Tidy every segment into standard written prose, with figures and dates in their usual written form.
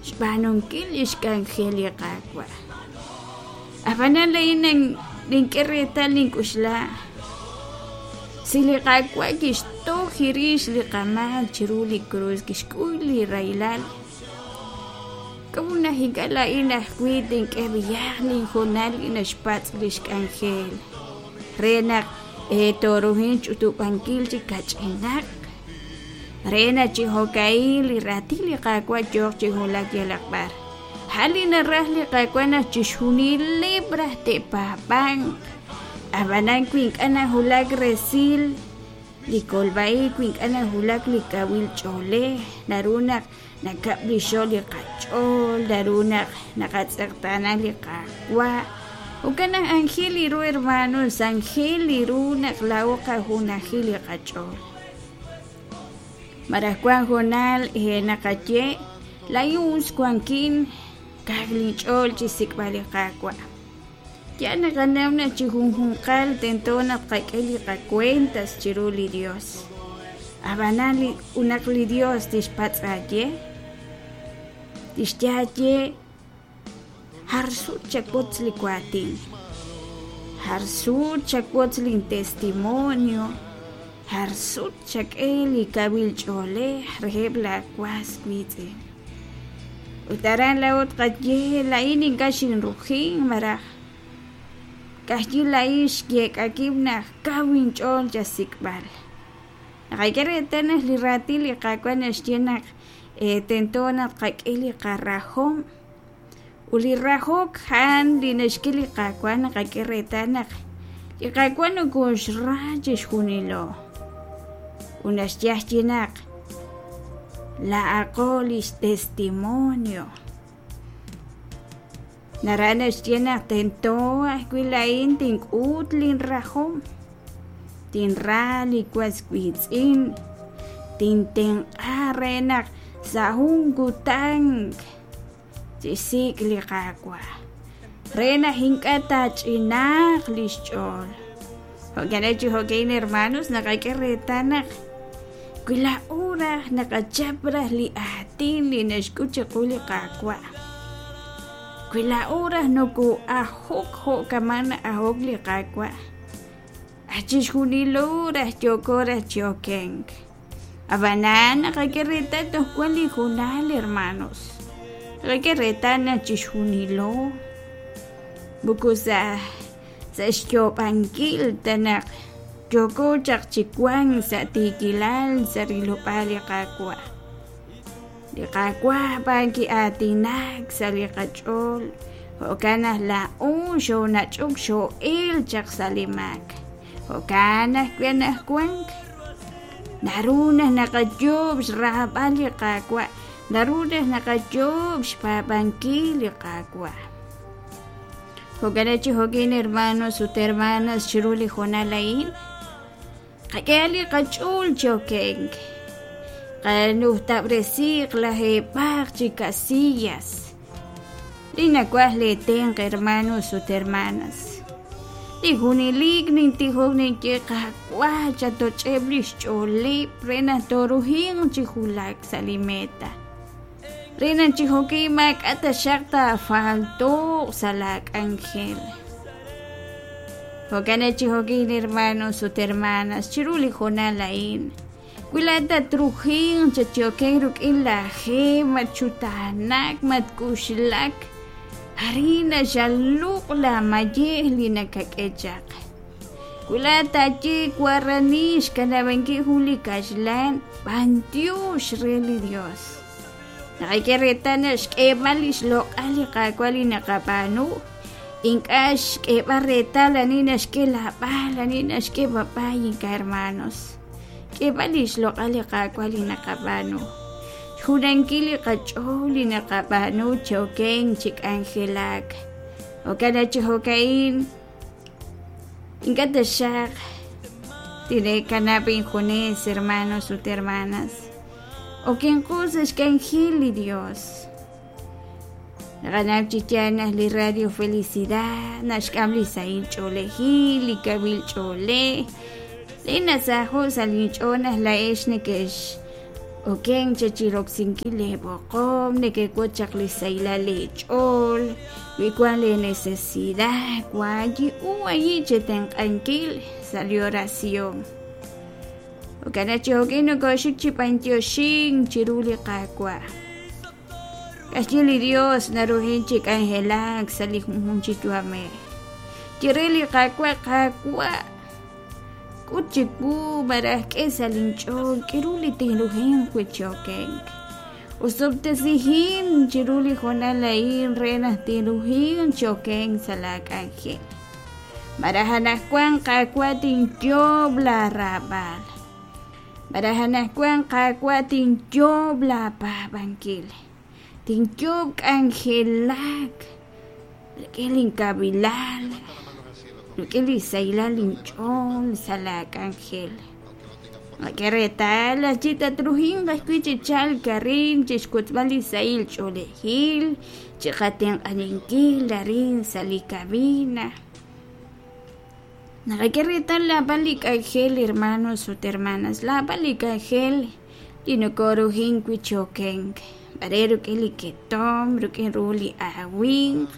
Xb'aanunkil lix k'anjel li Qaawa'. A'b'anan laa'in nink'e reetal nink'oxla, si li Qaawa' kixtoj rix li qamaak chiru li krus, kixk'ul li rahilal, k'a'ut naq ink'a' laa'in ajwi' tink'e b'ayaq linhoonal li naxpatz' lix k'anjel re naq tooruhin ch'utub'ankil chi kach'inaq? Re naq chi jo'ka'in li raatin li Qaawa' yooq chi wulak yalaq b'ar. A'an li naraj li Qaawa' naq chixjunileb' raj te'paab'anq. Ab'anan wi ink'a' nawulak resil li kolb'a-ib', wi ink'a' nawulak li kawil ch'oolej, naru naq nakab'lixo' li qach'ool, naru naq naqatz'eqtaana li Qaawa'. Jo'kan naq anjel li ru hermanos, anjel li ru naq laa'o qajunajil li qach'ool. Malaj wank hoonal naqaye, Laa'in us wankin, kaw linch'ool chi xsik'b'al li Qaawa'. Yaal naqanaw naq chi junjunqal tento naq tqak'e li qakuentas chiru li Yos. Ab'anan naq li Yos tixpatz' aawe, tixye aawe, Jar sut chawotz li waatin, jar sut chawotz lin testimonio, jar sut chak'e li kawil ch'oolej reheb' laa was wiitz'in. Ut aran laa'o tqaye, laa'in ink'a' xinrujin malaj ka'ajwi' laa'in xyeek'a wib' naq kaw inch'ool chasik'b'al. Naqak'e reetal naq li raatin li Qaawa' naxye naq tento naq tqak'e li qarahom ut li rahok a'an li naxk'e li Qaawa' naqak'e reetal naq li Qaawa' nokooxra chixjunilo ut naxye ajwi' naq laa'aqo li xtestimonio. Naraj naxye naq tento ajwi' laa'in tink'ut linrahom, tinra li was wiitz'in, tintenq'a re naq sa' jun kutan tixsik' li Qaawa', re naq ink'a' taach'inaaq li xch'ool. Jo'kan chi jo'kan hermanos naqak'e reetal naq wi laa'o raj naqachap raj li aatin li naxk'ut chiqu li Qaawa', wi laa'o raj noko'ajok jo' kama' na'ajok li Qaawa', aj chixjunilo raj yooko raj chi okenk. Ab'anan naqak'e reetal toj wan li hoonal hermanos, naqak'e reetal naq chixjunilo moko sa' sa' xyoob'ankil ta naq yooko chaq chi wank sa' tiikilal sa' rilob'aal li Qaawa'. Li Qaawa' b'an ki'aatinak sa' li qach'ool, jo'kan naq laa'o xoonach'ok xoo'elk chaq sa' li maak. Jo'kan ajwi' anaqwan naru naq naqayoob' xraab'al li Qaawa', naru naq naqayoob' xpaab'ankil li Qaawa'. Jo'kan chi jo'kin hermanos ut hermanas chiru li hoonal a'in, qak'e li qach'ool chi okenk, qanujtab'resiiq lajeeb'aq chi casillas. Li nawaj lee tenq' hermanos ut hermanas. Li junelik nintijok ninye Qaawa' chatoch'eb' li xch'ooleb' re naq tooruhinq chi wulak sa' li meta. Re naq chi jo'kan maak'a' taxaq taafalto'q sa' laa k'anjel. Jo'kan naq chi jo'kan hermanos ut hermanas chiru li hoonal a'in, wi laa'at tatruhinq chatyo'ken rik'in laa je, matxutaanak, matk'uxlak, arin naxaluq' laa mayej li nakak'e chaq. Wi laa'at taaye warani xkanab'ankil jun li kaxlan, b'antiox re li Dios. Naqak'e reetal naq xk'eeb'al li xloq'al li Qaawa' li naqab'aanu, ink'a' xk'eeb'al reetal ani naxk'e laab'al, ani naxk'e b'ab'ay ink'a' hermanos. K'eeb'al li xloq'al li Qaawa' li naqab'aanu. Xjunankil li qach'ool li naqab'aanu chi okenk chi k'anjelak. Jo'kan naq chi jo'ka'in Ink'a' taxaq tineekanab' injunes, hermanos ut hermanas. Okenqo sa' xk'anjel li Dios. Naqanaw chi yaal naq li Radio Felicidad naxk'am li sahil ch'oolejil, li kawil ch'oolej. Li nasaho' sa' linch'ool naq laa'ex nekex Okenk chaq chi roksinkil leeb'oqom, nekewotz chaq li sahilal leech'ool, wi wank leenecesidad, waayi'u ayi' chetenq'ankil sa' li oración. Jo'kan naq chi jo'kin nokooxik chi b'anyoxink chiru li Qaawa'. Ka'ajwi' li Dios naruhin chi k'anjelak sa' li junjunq chi yu'amej. Ye re li Qaawa', Qaawa', k'ut chiwu malaj k'e sa' linch'ool k'aru li tinruhinq wi' chi okenk. Osob'tesihin chiru li hoonal a'in re naq tinruhinq chi okenk sa' laak'anjel. Malaj anaqwan Qaawa' tinyoob' laaraab'al. Malaj anaqwan Qaawa' tinyoob' laapaab'ankil. Tinyoob' k'anjelak rik'in linkawiilal, rik'in li sahilal linch'ool sa' laak'anjel. K'e reetal, chi tatruhinq ajwi' chi chalk arin chi xwotzb'al li sahil ch'oolejil, chi qatenq'aninkil arin sa' li cabina. Naqak'e reetal naab'al li k'anjel, hermanos ut hermanas, naab'al li k'anjel li nokoruhin wi' chi okenk, mare rik'in li ketomq, rik'in ru li awimq,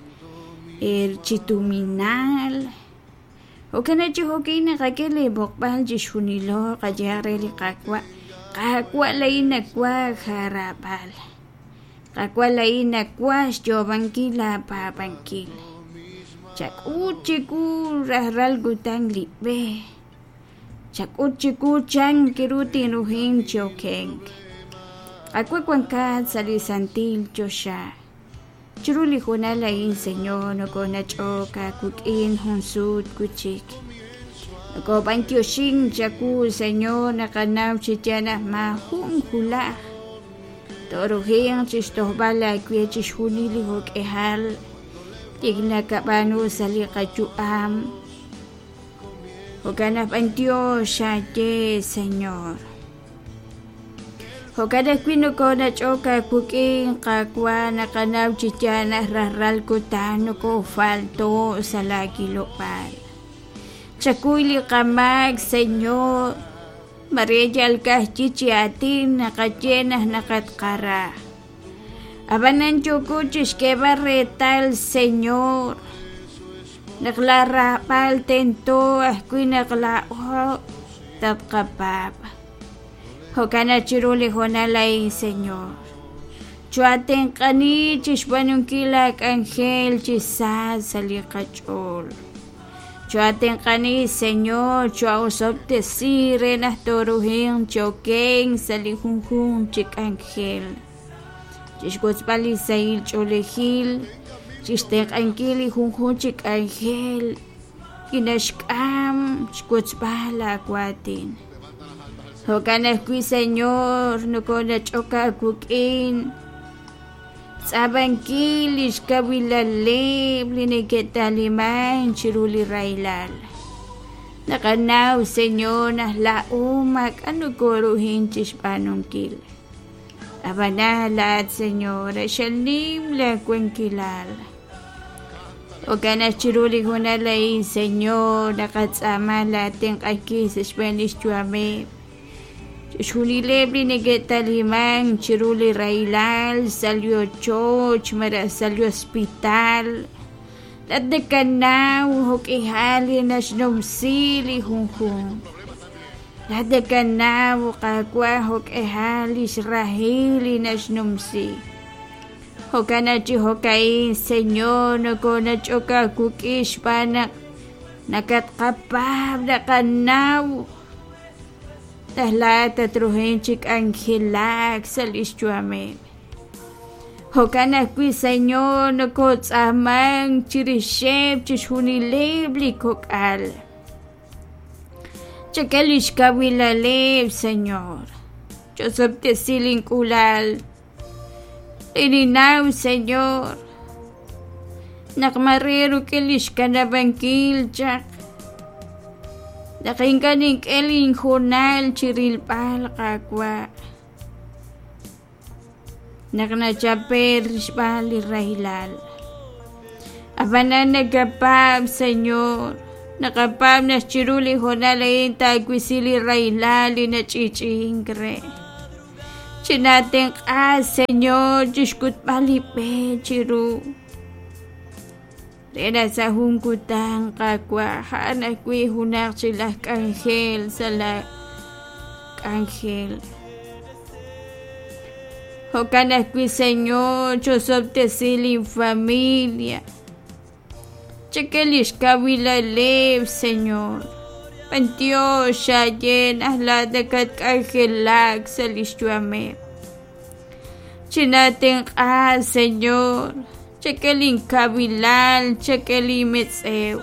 chi tuminal. Jo'kan naq chi jo'kin naqak'e lee b'oqb'al chixjunilo qayehaq re li Qaawa', Qaawa' laa'in nawaj aaraab'al, Qaawa' laa'in nawaj xyoob'ankil laapaab'ankil. Chak'ut chiwu rajlal kutan li b'e, chak'ut chiwu chan ru tinruhin chi okenk. Qaawa' wankat sa' li santil choxa. Chiru li hoonal a'in, Señor, nokonach'ok aawik'in jun sut wi' chik. Nokob'antioxink chawu, Señor, naqanaw chi yaal naq maajun wulaj tooruhinq chixtojb'al aawe chixjunil li jo'k'ihal li nakab'aanu sa' li qayu'am. Jo'kan naq b'antiox aawe, Señor. Jo'kan ajwi' nokonach'ok aawik'in, Qaawa', naqanaw chi yaal naq rajlal kutan nokofalto' sa' laawilob'aal. Chakuy li qamaak, Señor, mare yal ka'ajwi' chi aatin naqaye naq naqatqara. Ab'anan yooko chixk'eeb'al reetal, Señor, naq laaraab'al tento ajwi' naq laa'o tatqapaab'. Jo'kan naq chiru li hoonal a'in, Señor, choo'atenq'ani chixb'aanunkil laak'anjel chi sa sa' li qach'ool. Choo'atenq'ani, Señor, choo'osob'tesi re naq tooruhinq chi okenk sa' li junjunq chi k'anjel, chixwotzb'al li sahil ch'oolejil, chixtenq'ankil li junjunq chi k'anjel li naxk'am xwotzb'al laawaatin. Jo'kan ajwi', Señor, nokonach'ok aawik'in xtz'ab'ankil li xkawilaleb' li neke'talimank chiru li rahilal. Naqanaw, Señor, naq laa'o maak'a' nokoruhin chi xb'aanunkil. Ab'anan laa'at, Señor, q'axal nim laawankilal. Jo'kan naq chiru li hoonal a'in, Señor, naqatz'aama laatenq'ankil sa' xb'een li xyu'ameb' chixjunileb' li neke'talimank chiru li rahilal sa' li ochoch malaj sa' li hospital. Laa'at nakanaw jo'k'ihal li naxnumsi li junjunq. Laa'at nakanaw, Qaawa', jo'k'ihal li xrahil li naxnumsi. Jo'kan naq chi jo'ka'in, Señor, nokonach'ok aawik'in xb'aan naq nakatqapaab' naqanaw naq laa'at tatruhin chi k'anjelak sa' li xyu'ameb'. Jo'kan ajwi', Señor, nokotz'aamank chirixeb' chixjunileb' li kok'al. Chak'e li xkawilaleb', Señor. Chosob'tesi link'uula'al. Li ninnaw, Señor, naq mare rik'in li xkanab'ankil chaq, naq ink'a' nink'e linhoonal chi rilb'al, Qaawa', naq nachape'k xb'aan li rahilal. Ab'anan nakapaab', Señor, naqapaab' naq chiru li hoonal a'in taawisi li rahilal li nach'i'ch'i'ink re. Chinaatenq'a, Señor, chixk'utb'al li b'e chiru. Re naq sa' jun kutan, Qaawa', a'an ajwi' junaq chik laj k'anjel sa' laa k'anjel. Jo'kan ajwi', Señor, chosob'tesi lin familia. Chak'e lix kawilaleb', Señor. B'antiox xaye naq laa'at nakatk'anjelak sa' lix yu'ameb'. Chinaatenq'a, Señor, chak'e lin kawilal, chak'e lin metz'ew.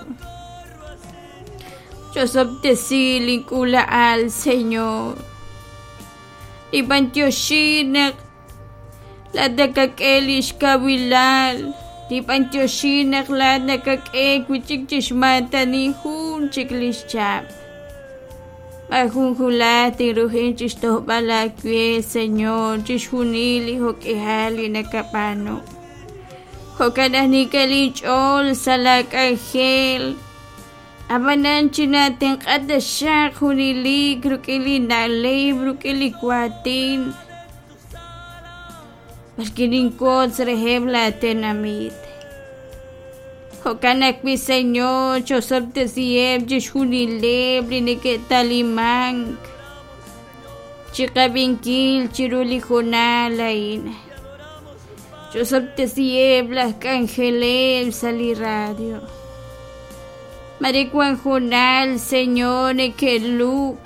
Chosob'tesi lin k'uula'al, Señor. Ninb'antioxi naq laa'at nakak'e lix kawilal, ninb'antioxi naq laa'at nakak'e wi'chik chixmaatani jun chik lix chihab'. Maajun wulaj tinruhin chixtojb'al aawe, Señor, chixjunil li jo'k'ihal li nakab'aanu. Jo'kan naq nink'e linch'ool sa' laa k'anjel. Ab'anan chinaatenq'a taxaq junelik rik'in li na'leb', rik'in li waatin, b'arwi' ninwotz reheb' laatenamit. Jo'kan ajwi', Señor, chosob'tesiheb' chixjunileb' li neke'talimank chiqab'inkil chiru li hoonal a'in. Chosob'tesiheb' laj k'anjeleb' sa' li radio. Mare wan hoonal, Señor, neke'lub',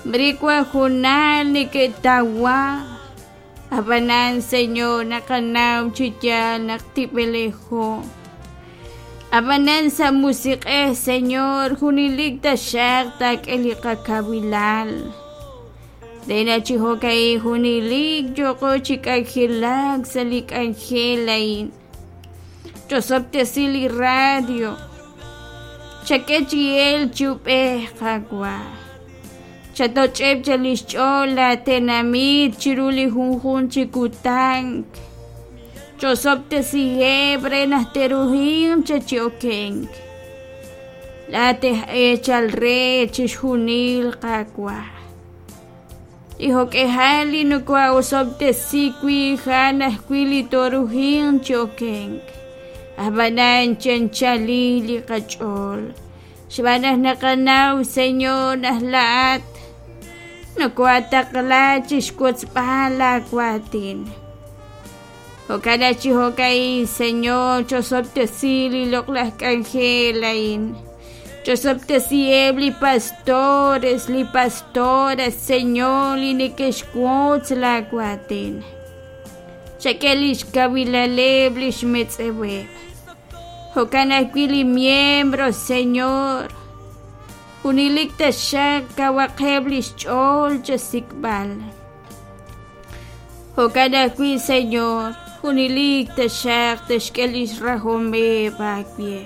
mare wan hoonal neke'tawa. Ab'anan, Señor, naqanaw chi yaal naq tib'elejo. Ab'anan sa' musiq'ej, Señor, junelik taxaq taak'e li qakawilal. Re naq chi jo'ka'in junelik yooqo chi k'anjelak sa' li k'anjel a'in. Chosob'tesi li radio. Chak'e chi elk chi ub'ej, Qaawa'. Chatoch'eb' chaq li xch'ool laatenamit chiru li junjunq chi kutan. Chosob'tesiheb' re naq te'ruhinq chaq chi okenk. Laa'at aj eechal re chixjunil, Qaawa'. Li jo'k'ihal li noko'osob'tesi wi' a'an ajwi' li tooruhinq chi okenk. Ab'anan chanchalil li qach'ool, xb'aan naq naqanaw, Señor, naq laa'at nokohataqla chixwotzb'al laawaatin. Jo'kan naq chi jo'ka'in, Señor, chosob'tesi li loq'laj k'anjel a'in. Chosob'tesiheb' li pastores, li pastoras, Señor, li neke'xwotz laawaatin. Chak'e lix kawilaleb' lix metz'eweb'. Jo'kan ajwi' li miembros, Señor. Junelik taxaq kawaqeb' lix ch'ool chasik'b'al. Jo'kan ajwi', Señor, junelik taxaq te'xk'e lix rahomeb' aawe.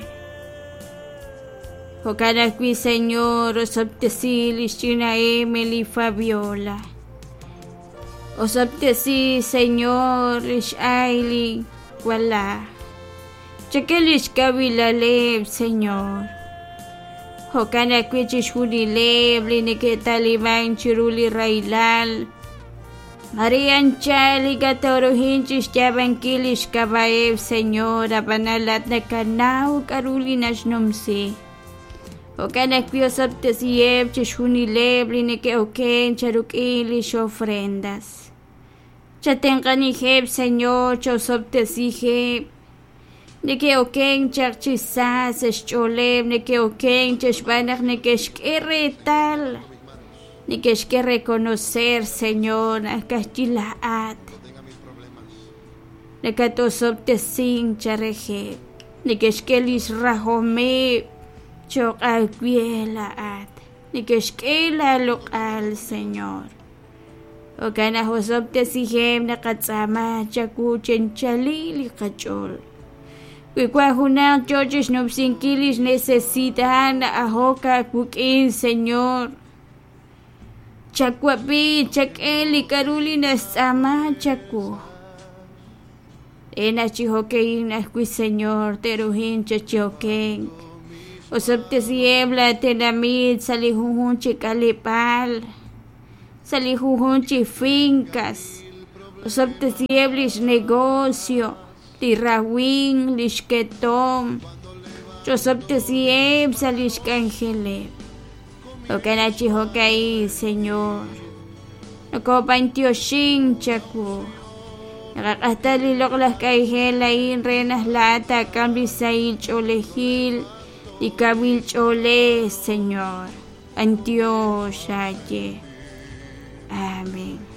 Jo'kan ajwi', Señor, osob'tesi lix ch'ina Emily Fabiola. Osob'tesi, Señor, lix Aily wala. Chak'e lix kawilaleb', Señor. Jo'kan ajwi' chixjunileb' li neke'talimank chiru li rahilal. Mare anchal ink'a' tooruhin chixyaab'ankil lix k'ab'a'eb', Señor, ab'anan laa'at nakanaw k'a'ru li naxnumsi. Jo'kan ajwi' osob'tesiheb' chixjunileb' li neke'oken charuk'in lix ofrendas. Chatenq'aniheb', Señor, chaosob'tesiheb'. Neke'okenk chaq chi sa sa' xch'ooleb', neke'okenk chaq xb'aan naq neke'xk'e reetal, neke'xk'e reconocer, Señor, naq ka'ajwi' laa'at nakatosob'tesink charejeb', neke'xk'e lix rahomeb' cho'q aawe laa'at, neke'xk'e laaloq'al, Señor. Jo'kan naq osob'tesiheb' naqatz'aama chawu chi anchalil li qach'ool. Wi wan junaq yoo chixnumsinkil lix necesidad na'ajok aawik'in, Señor, chawab'i, chak'e li k'a'ru li naxtz'aama chawu. Re naq chi jo'ka'in ajwi', Señor, te'ruhin chi okenk. Osob'tesiheb' laa tenamit sa' li junjunq chi k'aleb'aal. Sa' li junjunq chi fincas. Osob'tesiheb' lix negocio, li rawimq, lix ketomq. Chosob'tesiheb' sa' lix k'anjeleb'. Jo'kan chi jo'ka'in, Señor. Nokob'antioxink chawu. Naqaq'axta li loq'laj k'anjel a'in re naq laa'at taak'am li sahil ch'oolejil, li kawil ch'oolej, Señor. B'antiox aaye. Amén.